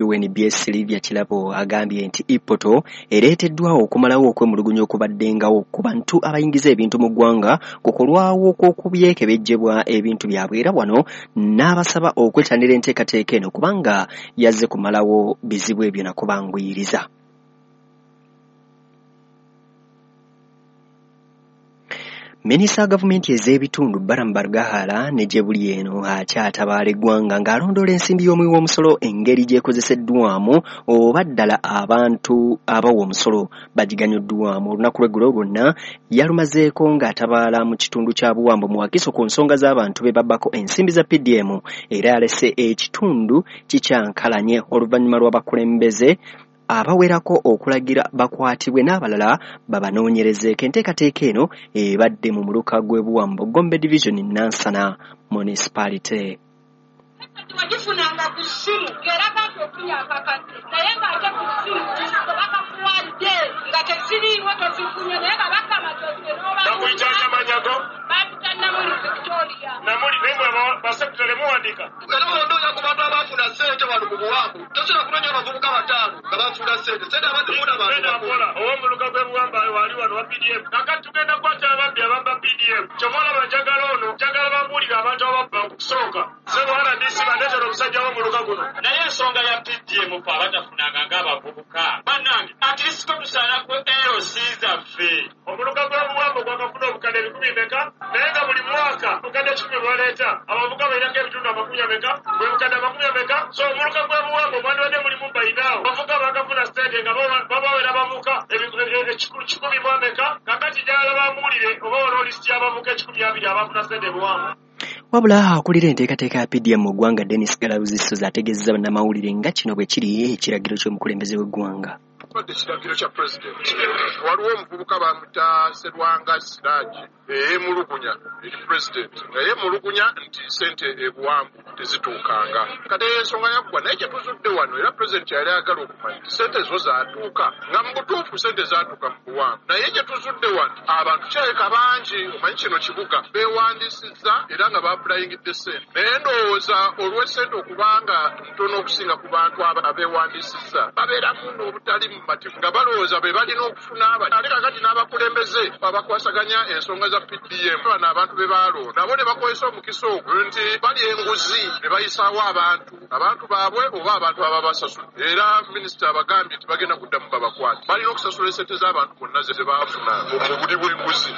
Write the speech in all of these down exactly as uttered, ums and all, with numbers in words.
U N B S Sylvia Kirabo agambye nti e-portal ereeteddwawo okumalawo okwemulugunya okubaddengawo ku bantu abayingiza ebintu mu ggwanga ku kulwawo kw'okubyekebejjebwa ebintu byabwe, era wano n'abasaba okwettanira enteekateeka eno kubanga yazze kumalawo bizibu ebyo nakubanguyiriza. Minisita wa gavumenti ez'ebitundu Balaam Barugahara ne gye buli eno akyatabaala eggwanga ng'alondoola ensimbi y'omuwi w'omusolo engeri gy'ekozeseddwamu oba ddala abantu abawa omusolo bagiganyuddwamu. Olunaku lw'eggulo lwonna yalumazeeko ng'atabaala mu kitundu kya Buwambo mu Wakiso ku nsonga z'abantu be babbako ensimbi za P D M, era yalese ekitundu kikyankalanye oluvannyuma lw'abakulembeze abawerako okulagira bakwatibwe n'abalala babanoonyerezeeko. Enteekateeka eno ebadde mu muluka gw'e Buwambo, Gombe Division, Nansana Municipality. Wagifunanga ku ssimu ng'eraga nti ofunye akakadde, naye ng'ate ku ssimu bakakuwadde nga teziriiwo tozifunye, naye nga bagamba Bakuyita Kamanyago? Bampita Namuli Victoria. Namuli, naye mwe basekutale muwandiika. Era bw'ondoonya ku bantu abaafuna ssente wano mu Buwambo, tosobola kunoonya abavubuka bataano nga baafuna ssente. Ssente abazifuna bantu bakulu. Ow'omuluka gw'e Buwambo wali wano wa P D M. Kaakati tugenda kukwata ababbi ababba P D M. Kyova olaba njagala ono, njagala bambuulire abantu ababba okusooka. Ssebo R D C bandeetera omusajja w'omuluka guno. Naye ensonga ya P D M ffe abatafunanga ng'abavubuka. Bannange, at least ko tusaana ku L C zaffe. Omuluka gw'e Buwambo gwakafuna obukadde ebikumi bimeka, naye nga buli mwaka obukadde kikumi bwaleeta. Abavubuka balinako ebitundu amakumi ameka, bwe bukadde amakumi ameka. So omuluka gw'e Buwambo gwandibadde mulimu bayinaawo. Abavubuka baakafuna ssente nga babawera abavubuka kikumi mu ameka. Kaakati njagala bambuulire oba waliwo lisiti y'abavubuka ekikumi abiri abaafuna ssente e Buwambo. Wabula akulira enteekateeka ya P D M mu ggwanga Denis Galabuzi Ssozi ategeezezza bannamawulire nga kino bwe kiri ekiragiro ky'omukulembeze w'eggwanga. Ekiragiro kya pulezidenti, waliwo omuvubuka bamuyita Serwanga Siraji eyemulugunya eri pulezidenti, nga yeemulugunya nti ssente e Buwambo tezituukanga. Kati ensonga yaggwa, naye kye tuzudde wano era pulezidenti yali ayagala okumanya nti ssente zo zaatuuka, nga mu butuufu ssente zaatuuka mu Buwambo. Naye kye tuzudde wano abantu kirabika bangi, omanyi kino kibuga, beewandiisizza era nga baapulayingidde ssente. Naye ndowooza olw'essente okubanga ntono okusinga ku bantu abeewandiisizza, babeeramu n'obutali mumativu nga balowooza be balina okufuna. Ate kaakati n'abakulembeze abakwasaganya ensonga za P D M bano abantu be baalonda nabo ne bakozesa omukisa ogwo nti balya enguzi ne bayisaawo abantu abantu baabwe oba abantu ababasasula. Era minisita abagambye nti bagenda kuddamu babakwate, balina okusasula essente z'abantu bonna ze baafuna mu buli bw'enguzi.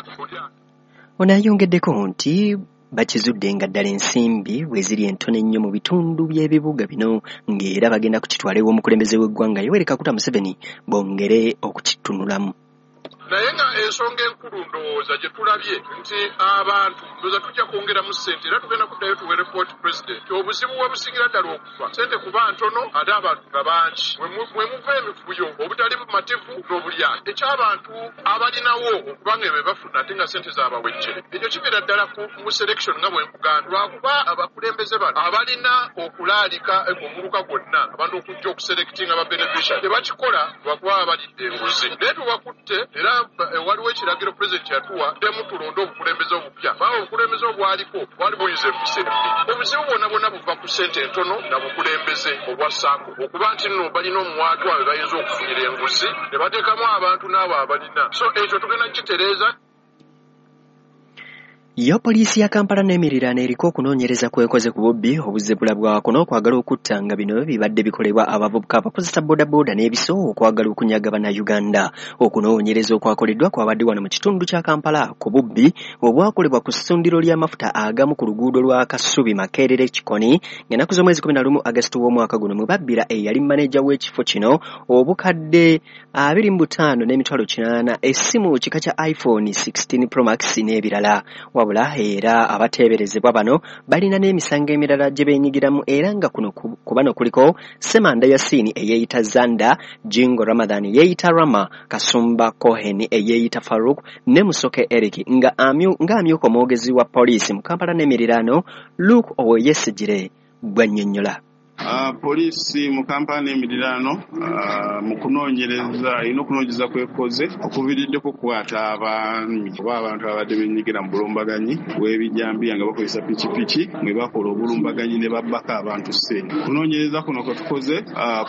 Ono ayongeddeko nti bakizudde nga ddala ensimbi bwe ziri entono ennyo mu bitundu by'ebibuga bino, ng'era bagenda kukitwala ew'omukulembeze w'eggwanga Yoweri Kaguta Museveni bongere okukitunulamu. Naye nga ensonga enkulu ndowooza gye tulabye nti abantu ndowooza tujja kwongeramu ssente, era tugenda kuddayo tuwe report president. Obuzibu we busingira ddala okuva ssente kuba ntono ate abantu nga bangi, mwe muva emivuyo, obutali bumativu n'obulyake. Eky'abantu abalinawo okubanga be bafuna ate nga ssente zaabawejje, ekyo kibeera ddala mu selection nga bwe nkugamba, lwakuba abakulembeze bano abalina okulaalika omuluka gwonna abantu okujja okuselectinga ba beneficiary tebakikola lwakuba balidde enguzi. Naye tubakutte, era waliwo ekiragiro pulezidenti yatuwa ddemu tulonde obukulembeze obupya, kubanga obukulembeze obwaliko bwali buyinza empisa embi. Obuzibu bwonna bwonna buva ku ssente entono na bukulembeze obwa SACCO, okuba nti nno balina omuwaatwa we bayinza okufunira enguzi ne bateekamu abantu n'abo abalina. So ekyo tugenda kukitereeza. Yo poliisi ya Kampala n'emiriraano eriko okunoonyereza kw'ekoze ku bubbi obuzze bulabwako n'okwagala okutta, nga bino bibadde bikolebwa abavubuka abakozesa boodabooda n'ebiso okwagala okunyaga Bannayuganda. Okunoonyereza okwakoleddwa kwabadde wano mu kitundu kya Kampala ku bubbi obwakolebwa ku ssundiro ly'amafuta agamu ku luguudo lwa Kasubi Makerere Kikoni ng'ennaku z'omwezi kumi na lumu Agasito w'omwaka guno mwe babbira eyali maneja w'ekifo kino obukadde abiri mu butaano n'emitwalo kinaana, essimu kika kya iPhone sixteen Pro Max n'ebirala. Wabula era abateeberezebwa bano balina n'emisango emirala gye beenyigiramu, era nga kuno ku bano kuliko Ssemanda Yasini eyeeyita Zanda, Jingo Ramadhan yeeyita Rama, Kasumba Cohen eyeeyita Farouk ne Musoke Eric, nga amyuka omwogezi wa poliisi mu Kampala n'emiriraano Luke Owoyesigyire bw'annyonnyola. Uh, poliisi mu Kampala n'emiriraano uh, mu kunoonyereza erina okunoonyereza kwekoze okuviriddeko okukwata abaami oba abantu ababadde benyigira mu bulumbaganyi bw'ebijambiya nga bakozesa pikipiki mwe bakola obulumbaganyi ne babbako abantu ssente. Okunoonyereza kuno kwe tukoze uh,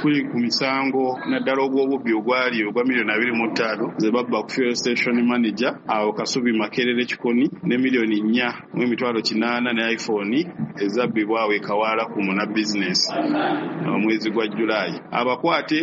kuli ku misango naddala ogw'obubbi ogwali ogwa miliyoni abiri mu ttaano ze babba ku fuel station manager awo Kasubi Makerere Kikoni ne miliyoni nnya mu emitwalo kinaana ne iPhone ezabbibwa awo e Kawala ku muna business omwezi gwa Julaayi. Abakwate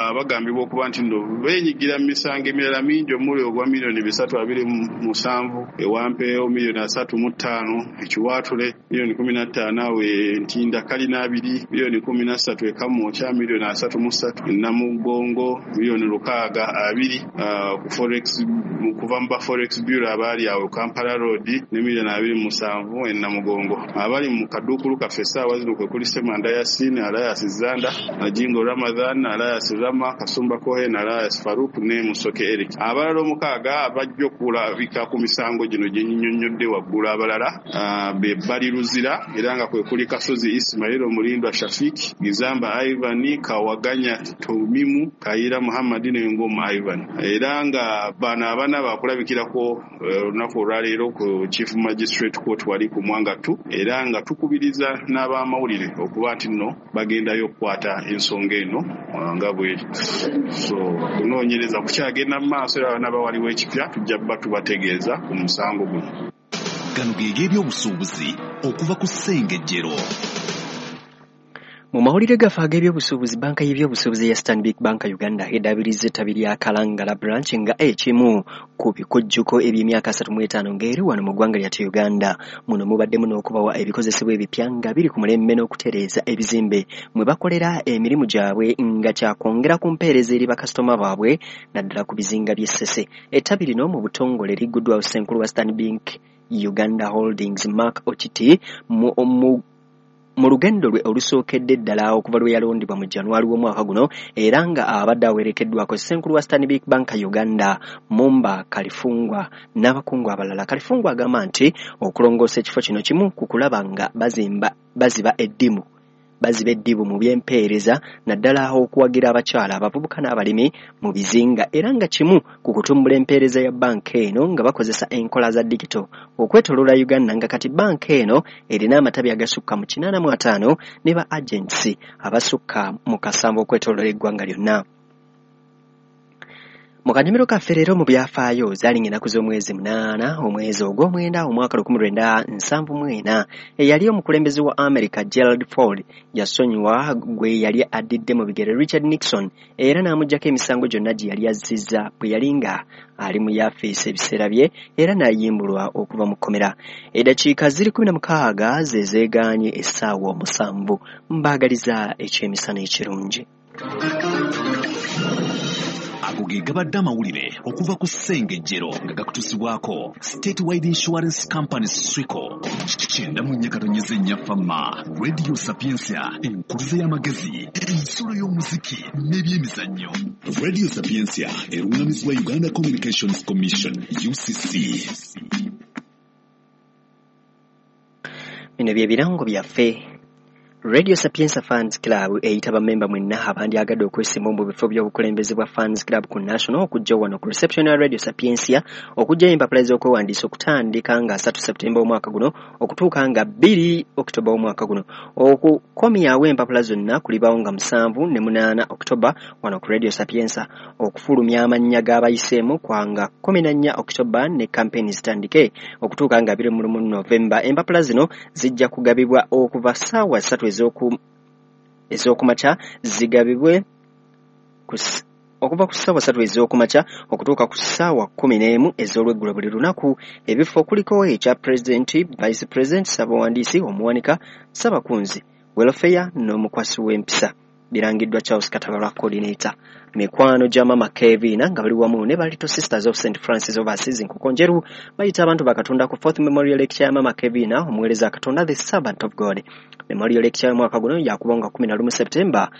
abagambibwa okuba nti nno beenyigira mu misango emirala mingi omuli ogwa miliyoni bisatu abiri mu musanvu ewampeewo, miliyoni asatu mu ttaano ekiwaatule, miliyoni kumi na ttaano awo Ntinda Kalina abiri, miliyoni kumi na ssatu e Kamwokya, miliyoni asatu mu ssatu e Namugongo, miliyoni lukaaga abiri ku forex kuva mu ba forex bureau abaali awo Kampala Road ne miliyoni abiri mu musanvu e Namugongo. Abali mu kaduukulu kaffe essaawa zino kwe kuli Ssemanda Yasin, Alias Zanda, Najingo Ramadhan, Alias Rama, Kasumba Kohen, Alias Faruk ne Musoke Eric. Abalala omukaaga abajja okulabika ku misango gino gye nnyonnyodde waggulu abalala be Bali Luzira era nga kwe kuli Kasozi Ismail, Omulindwa Shafik, Gizamba Ivan, Kawaganya Tomimu, Kayira Muhammad ne Ngoma Ivan. Era nga bano abana bakulabikirako olunaku olwaleero ku Chief Magistrate Court wali ku Mwanga two, era nga tukubiriza n'abamawulire okuba nti nno bagendayo okukwata ensonga eno nga bweri. So kunoonyereza kukyagenda mu maaso era n'aba waliwo ekipya tujja kuba tubategeeza ku musango guno. Gano ge g'ebyobusuubuzi okuva ku Ssengejjero. Mu mawulire gaffe ag'ebyobusuubuzi, banka y'ebyobusuubuzi ya Stanbic Bank Uganda edaabiriza ettabi lya Kalangala branch nga ekimu ku bikujjuko eby'emyaka asatu mu etaano ng'eri wano mu ggwanga lyattu Uganda. Muno mubaddemu n'okubawa ebikozesebwa ebipya nga biri ku mulembe n'okutereeza ebizimbe mwe bakolera emirimu gyabwe nga kyakwongera ku mpeereza eri bakasitoma baabwe naddala ku bizinga by'e Ssese. Ettabi lino mu butongole ligguddwawo Ssenkulu wa Stanbic Uganda Holdings Mark Okiti mu, mu mu lugendo lwe olusookedde ddala okuva lwe yalondebwa mu January w'omwaka guno, era nga abadde awerekeddwako Ssenkulu wa Stanbic Bank Uganda Mumba Kalifungwa n'abakungu abalala. Kalifungwa agamba nti okulongoosa ekifo kino kimu ku kulaba nga bazimba baziba eddimu baziba eddibu mu by'empeereza naddala okuwagira abakyala, abavubuka n'abalimi mu bizinga, era nga kimu ku kutumbula empeereza ya banka eno nga bakozesa enkola za digito okwetooloola Uganda, nga kati banka eno erina amatabi agasukka mu kinaana mu ataano ne ba agents abasukka mu kasanvu okwetooloola eggwanga lyonna. Mu kanyumiro kaffe leero mu byafaayo zaali ng'ennaku z'omwezi munaana omwezi ogw'omwenda omwaka lukumi lwenda nsanvu mu ena eyali omukulembeze wa America Gerald Ford yasonyiwa gwe yali addidde mu bigere Richard Nixon era n'amuggyako emisango gyonna gye yali azzizza bwe yali nga ali mu yafeesi ebiseera bye era n'ayimbulwa okuva mu kkomera. Eddakiika ziri kumi na mukaaga ze zeegaanye essaawa omusanvu. Mbaagaliza ekyemisana ekirungi. Ago ge gabadde amawulire okuva ku Ssengejjero nga gakutuusibwako Statewide Insurance Company Swico. Kyenda mu nnya katonyeze nnya Fama, Radio Sapientia, enkuluze y'amagezi, ensolo y'omuziki n'ebyemizannyo. Radio Sapientia erungamizibwa Uganda Communications Commission U C C. Bino bye birango byaffe. Radio Sapientia Fans Club eyita bammemba mwenna abandyagadde okwesimba mu bifo by'obukulembeze bwa Fans Club ku National okujja wano ku reception ya Radio Sapientia okuggyayo empapula z'okwewandiisa okutandika nga asatu Septemba omwaka guno okutuuka nga bbiri Oktoba omwaka guno. Okukomyawo empapula zonna kulibaawo nga musanvu ne munaana Oktoba wano ku Radio Sapientia. Okufulumya amannya g'abayiseemu kwa nga kkumi na nnya Oktoba ne campaign zitandike okutuuka nga abiri mu lumu Novemba. Empapula zino zijja kugabibwa okuva ssaawa ssatu ez'okumakya zigabibwe okuva ku ssaawa ssatu ez'okumakya okutuuka ku ssaawa kkumi n'emu ez'olweggulo buli lunaku. Ebifo kuliko ekya pulezidenti, vice president, ssabawandiisi, omuwanika, ssabakunzi, welfare n'omukwasi w'empisa. Birangiddwa Charles Katabalwa coordinator. Mikwano gya Mama Kevina nga bali wamu ne ba Little Sisters of Saint Francis of Assisi Nkokonjeru bayita abantu bakatonda ku Fourth Memorial Lecture ya Mama Kevina omuweereza Katonda the Servant of God. Memorial Lecture y'omwaka guno yakuba nga kumi na lumu September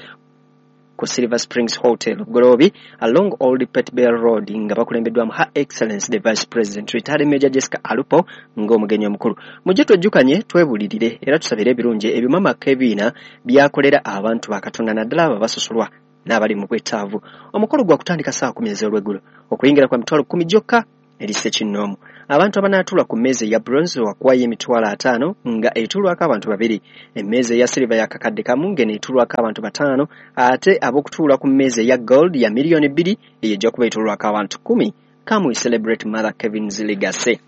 ku Silver Springs Hotel Bugoloobi along Old Pet Bell Road, nga bakulembeddwamu Her Excellence the Vice President Retired Major Jessica Alupo ng'omugenyi omukulu. Mujje twejjukanye, twebulirire era tusabire ebirungi ebyo Mama Kevina byakolera abantu ba Katonda, naddala abo abasosolwa n'abali mu bwetaavu. Omukolo gwa kutandika ssaawa kumi ez'olweggulo, okuyingira kwa mitwalo kkumi gyokka eri ssekinnoomu. Abantu abanaatuula ku mmeeza eya bronze wakuwayo emitwalo ataano nga etuulwako abantu babiri. Emmeeza eya silver ya kakadde kamu ng'eno etuulwako abantu bataano, ate ab'okutuula ku mmeeza eya gold ya miliyoni bbiri, eyo ejja kuba etuulwako abantu kkumi. Come we celebrate Mother Kevin's legacy.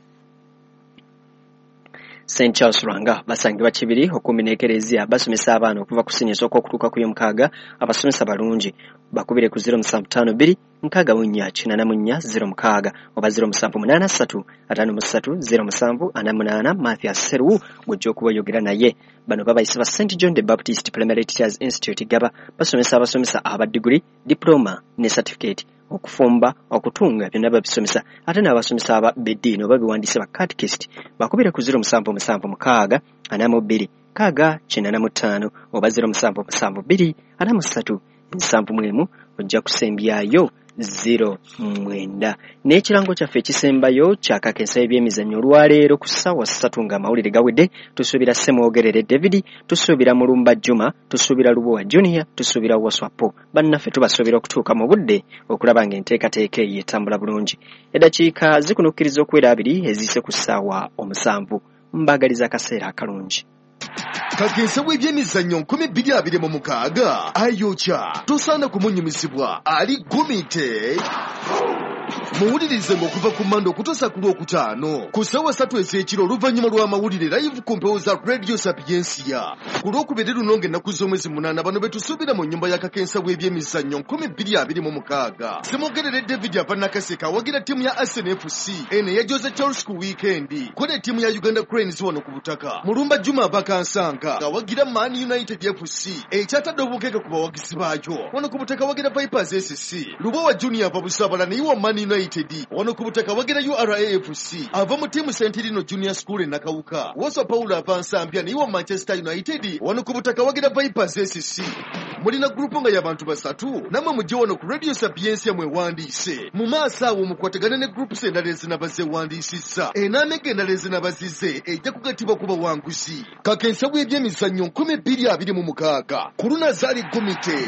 Saint Charles Lwanga basangibwa Kibiri okumpi n'ekereziya, basomesa abaana okuva ku siniya esooka okutuuka ku y'omukaaga. Abasomesa balungi, bakubire ku zero musanvu ttaano bbiri nkaaga mu nnya kinaana mu nnya zero mukaaga oba zero musanvu munaana ssatu ataano mu ssatu zero musanvu ana munaana. Mathias Seruwu gw'ojja okuba oyogera naye. Bano babayise ba Saint John the Baptist Primary Teachers Institute Gaba, basomesa abasomesa aba diguli, diploma ne certificate, okufumba, okutunga, byonna babisomesa, ate n'abasomesa aba b'eddiini oba biwandiise ba catechist. Bakubire ku zero musanvu musanvu mukaaga ana mu bbiri kaaga kinaana mu ttaano oba zero musanvu musanvu bbiri ana mu ssatu nsanvu mu emu, ojja kusembyayo zero mwenda. N'ekirango kyaffe ekisembayo kyakakensa ebyemizannyo olwaleero ku ssaawa ssatu ng'amawulire gawedde, tusuubira Ssemwogerere David, tusuubira Mulumba Juma, tusuubira Lubowa Junior, tusuubira Waswapo. Bannaffe tubasuubira okutuuka mu budde okulaba ng'enteekateeka eyo etambula bulungi. Eddakiika zikunukkiriza okuwera abiri eziyise ku ssaawa omusanvu. Mbaagaliza akaseera akalungi. Kakensa w'ebyemizannyo nkumi bbiri abiri mu mukaaga ayokya, tosaana kumunyumisibwa, ali gumite. Muwulirize ng'okuva ku Mande okutuusa ku Lwokutaano ku ssaawa ssatu ez'ekiro oluvannyuma lw'amawulire live ku mpewo za Radio Sapiensia. Ku Lwokubiri luno ng'ennaku z'omwezi munaana, bano be tusuubira mu nnyumba ya kakensa w'ebyemizannyo nkumi bbiri abiri mu mukaaga. Ssemogerere David ava Nakaseke awagira ttiimu ya Arsenal F C eno eya Jose Charles ku wiikendi, ko ne ttiimu ya Uganda Cranes wano ku butaka. Mulumba Juma ava Kansanga awagira Man United F C ekyatadde obukeeke ku bawagizi baayo, wano ku butaka awagira Vipers S C. Lubowa Junior ava Busabala naye wa Man United, wano ku butaka wagira U R A F C ava mu ttiimu Sentirino Junior School e Nakawuka. Waswa Paulo ava Nsambya naye wa Manchester United, wano ku butaka wagira Vipers S C. Mulina gurupu nga y'abantu basatu, nammwe mujje wano ku Radio Sapiensia mwewandiise. Mu maaso awo mukwatagane ne groups endala ezinaba zeewandiisizza, enaamega endala ezinaba zize ejja kugattibwa ku bawanguzi. Kakensa w'ebyemizannyo nkumi bbiri abiri mu mukaaga ku Lunazaali Gumite.